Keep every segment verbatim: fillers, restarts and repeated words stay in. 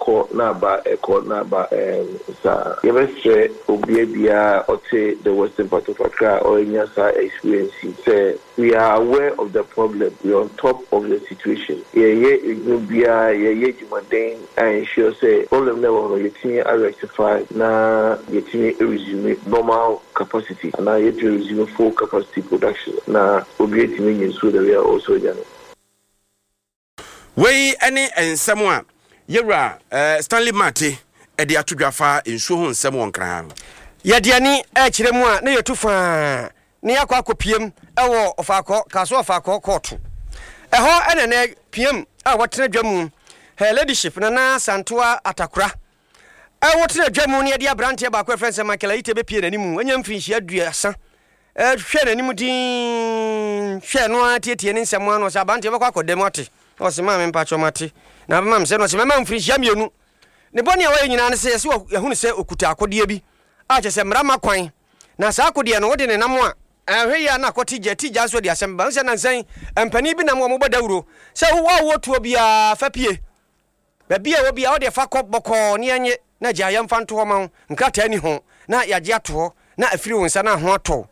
Ɛkɔ na aba, ɛkɔ na aba. ɛɛm saa yɛbɛsrɛ obia biara ɔte the Western part of Accra a ɔrenya saa experience yi sɛ we are aware of the problem, we are on top of the situation. Yɛyɛ edwuma biara, yɛyɛ edwumaden a ensure sɛ problem na ɛwɔ hɔ no, yɛtumi arectify na yɛtumi resume normal capacity anaa yɛtumi resume full capacity production na obi etumi nye nsuo the way a ɔwɔ sɛ ɔnya no. Wei ne nsɛm a yɛwura uh, Stanley Martey ɛde ato dwa fa nsuo ho nsɛm wɔ Nkran no. Yɛde ani ɛkyerɛ mu a, na yɛtu faa na yɛakɔ akɔpiem ɛwɔ Ɔfaakɔ Kaso Ɔfaakɔ kɔɔto. Ɛhɔ ɛna nɛ piem a wɔtena dwa mu, Her Ladyship Nana Santoa Atakora ɛwɔ tena dwa mu, ne yɛde aberanteɛ baako a ɛfrɛ sɛ Michael Ayite bɛpie n'anim. Anya mfirinhyia aduasa. Hwɛ n'anim din, hwɛ no ara, tietie ne nsɛm ano sɛ aberanteɛ bɛkɔ akɔda mu ate. Na ɔsɛ, "Maa me mpakyɛ, mate na bɛma me sɛ." Na ɔsɛ, "Mɛma mfirinhyia mmienu." Ne bɔne a wɔyɛ nyinaa ne sɛ yɛsɛ yɛhunu sɛ ɔkuta akodeɛ bi a kyerɛ sɛ mmara ma kwan, na saa akodeɛ no wode ne nam a ɛhwɛ yi a na akɔte gya ti gya nso de asɛm ba sɛ nansan mpanin bi nam wɔ mobɔ dawuro sɛ wowɔ a wowɔ tuo biara fa pie baabi a wɔ biara, wode fa kɔ bɔkɔɔ ne yɛnye na gya yɛmfa nto hɔ ma wo, nkrataa ni ho na yɛagye ato hɔ na afiri wo nsa na ho atɔ.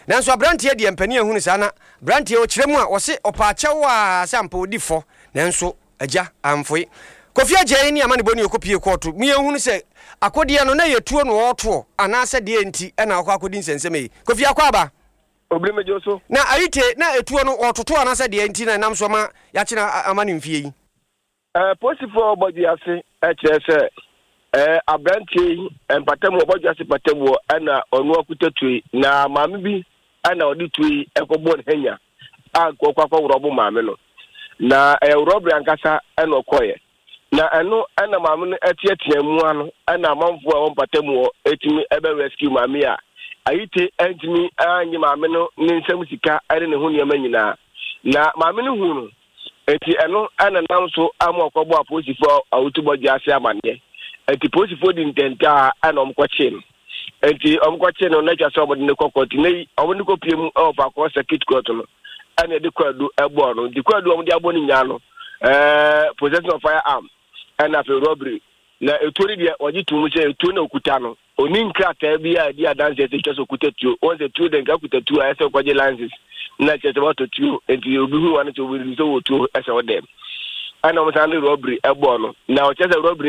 Nanso aberanteɛ deɛ, mpanin ahunu saa na aberanteɛ ɔkyerɛ mu a wɔse ɔpaakyɛw a sɛ ampa ɔdi fɔ, nanso agya amfoe. Kofi Agya ne ama ne bɔne ɔkɔpie kɔɔto mu, yɛhunu sɛ akodeɛ no na yɛtuo no ɔɔtoɔ anaasɛ deɛ nti ɛna ɔkɔ akɔdi nsɛnsɛm yi. Kofi, akɔ aba. Obiri megye so. Na Ayite na etuo no ɔtoto anaasɛ deɛ nti na ɛnam so ma yɛakyena ama ne mfie yi? Ɛɛ polisifoɔ a wɔbɔ ase ɛkyerɛ sɛ ɛɛ aberanteɛ yi mpatamu ɔbɔ ase mpatamu ɛna ɔno akuta tuo yi, na maame bi ɛna ɔde tuo yi ɛkɔbɔ ne hanya a ɔkɔ akɔ rob maame no, na ɛyɛ robbery ankasa ɛna ɔkɔɛ, na ɛno ɛna maame no ɛteatea mu ano, ɛna amanfoɔ a wɔn mpatamu hɔ ɛtumi ɛbɛ rescue maame a Ayite ɛntumi anye maame no ne nsam sika ɛne ne ho nneɛma nyinaa, na maame no hu no nti ɛno ɛna nam so ama ɔkɔbɔ apolisifoɔ a wotu bɔgye ase amanneɛ. Nti polisifoɔ di ntɛntaa ɛna ɔmkɔkyee no. Nti ɔmkɔkyee no na atwa sɛ ɔmode ne kɔ court, ne ɔmode ne kɔpie mu ɛwɔ Faakɔ Circuit Court no, ɛna ɛde kwaadu ɛbɔɔ no. Nti kwaadu a ɔmode abɔ no nyinaa no, ɛɛ possession of firearm ɛna afei robbery. Na etuo no deɛ, wɔgye to mu sɛ etuo na okuta no, oni nkrataa bi a ɛdi adanseɛ sɛ etwa sɛ okuta tuo. Wɔn sɛ tuo de nka kuta tuo a ɛsɛ kɔgye license na kyerɛ sɛ wɔatɔ tuo, nti obi hu wa no sɛ obi sɛ wɔ tuo ɛsɛ ɔdɛm, ɛna wɔn san de robbery ɛbɔɔ no, na ɔkyerɛ sɛ robbery.